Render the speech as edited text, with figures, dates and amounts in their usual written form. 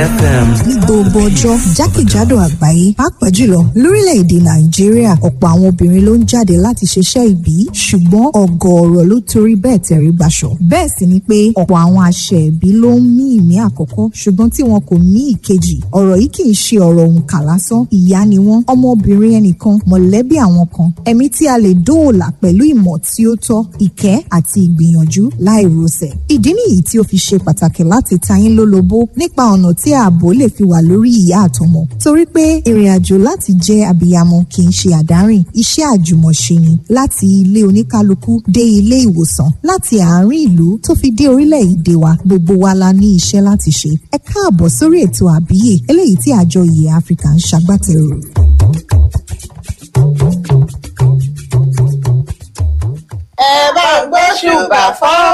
FM. Ní gbogbo ọjọ́ jákèjádò àgbáyé, pàápàá jùlọ lórílẹ̀‐èdè Nàìjíríà, ọ̀pọ̀ àwọn obìnrin ló ń jáde láti ṣiṣẹ́ ìbí, ṣùgbọ́n ọ̀gọ̀ọ̀rọ̀ ló torí bẹ́ẹ̀ tẹ̀rí gbaṣọ. Bẹ́ẹ̀ sì ni pé ọ̀pọ̀ àwọn àṣẹ ìbí ló ń mí ìmí àkọ́kọ́, ṣùgbọ́n tí wọn kò mí ìkejì. Ọ̀rọ̀ yìí kì í ṣe ọ̀rọ̀ òǹkà lásán. Ìyá ni wọ́n, ọmọbìnrin ẹnìkan, mọ̀lẹ́bí àwọn kan, ẹ̀mí tí a lè dóòlà pẹ̀lú ìmọ̀ tí ó tọ́, ìkẹ́ àti ìgbìyànjú láì rosẹ̀. Ìdí nìyí tí ó fi ṣe pàtàkì láti ta yín lólobó nípa ọ̀nà tí ààbò lè fi wà lórí ìyá àtọmọ. Torí pé ìrìn àjò láti jẹ́ abiyamọ kì í ṣe àdárìn, iṣẹ́ àjùmọ̀ṣe ni, láti ilé oníkálukú dé ilé ìwòsàn, láti àárín ìlú tó fi dé orílẹ̀-èdè wa, gbogbo wa la ní iṣẹ́ láti ṣe. Ẹ káàbọ̀ sórí ètò Àbíyè, eléyìí tí àjọ Ìyè Áfíríkà ń ṣagbátẹrù. Ẹ bá ń gbóṣùbà fọ́.